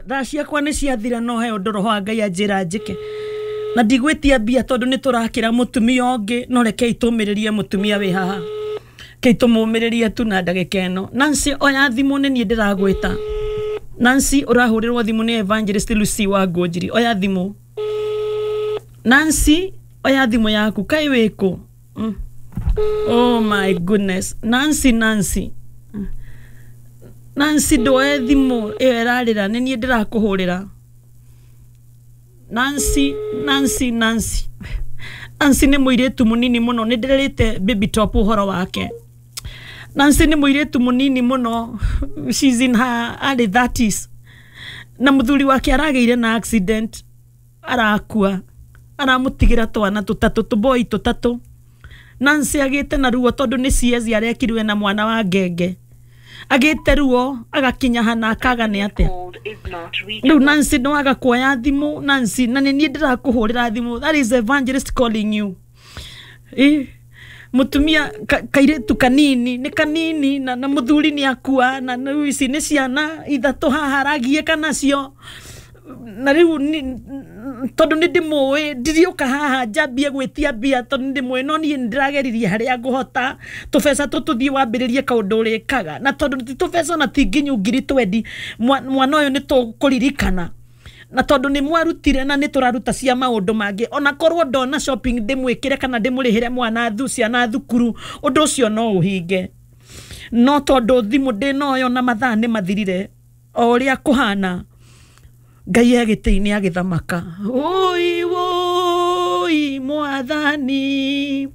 Thaa ciakwa nĩ ciathira, no he ũndũ roho wa Ngai anjĩra njĩke, na ndigwĩtia mbia tondũ nĩ tũrakĩra mũtumia ũngĩ, no rekei tũmĩrĩrie mũtumia wĩ haha, kei tũmũmĩrĩrie tu na ndagĩka ĩno. Nancy, oya thimũ, nĩ niĩ ndĩragwĩta. Nancy, ũrahũrĩrwo thimũ nĩ Evangelist Lucy wa Ngũnjiri. Oya thimũ, Nancy, oya thimũ yaku. Kaĩ wĩkũ? Oh my goodness, Nancy, Nancy, Nancy, ndoe thimũ ĩyo ĩrarĩra, nĩ niĩ ndĩrakũhũrĩra. Nancy, Nancy, Nancy, Nancy nĩ mũirĩtu mũnini mũno, nĩ ndĩrerĩte Baby Top ũhoro wake. Nancy nĩ mũirĩtu mũnini mũno, she's in her early 30s, na mũthuri wake aragĩire na accident, arakua, aramũtigĩra twana tũtatũ, tũboi tũtatũ. Nancy agĩte na ruo tondũ nĩ CS arekirwe na mwana wa ngenge, agĩte ruo agakinya hana akaga nĩ atĩa. Called is not Rĩu reachable. Nancy, nĩwaga kuoya thimũ, Nancy, na nĩ niĩ ndĩrakũhũrĩra thimũ. That is Evangelist calling you. Ĩ, mũtumia kairĩtu kanini, nĩ kanini, na mũthuri nĩ akua, na rĩu ici nĩ ciana ithatũ haha aragiĩka nacio. Na rĩu tondũ nĩ ndĩmũĩ, ndiriũka haha njambie gwĩtia mbia tondũ nĩ ndĩmũĩ, no niĩ nĩ ndĩrageririe harĩa ngũhota tũbeca tũtũthiĩ wambĩrĩrie kaũndũ ũrĩkaga, na tondũ ti tũbeca na ti nginyu 20,000, mwana ũyũ nĩ tũkũririkana, na tondũ nĩ mwarutire na nĩ tũraruta cia maũndũ mangĩ, ona korwo ndona shopping ndĩmwĩkĩre kana ndĩmũrĩhĩre mwana ciana thukuru, ũndũ ũcio no ũhinge. No tondũ thimũ ndĩnoyo na mathaa nĩ mathirire, o ũrĩa kũhana, Ngai e gĩtĩ-inĩ agĩthamaka. Ũi wũi mwathani.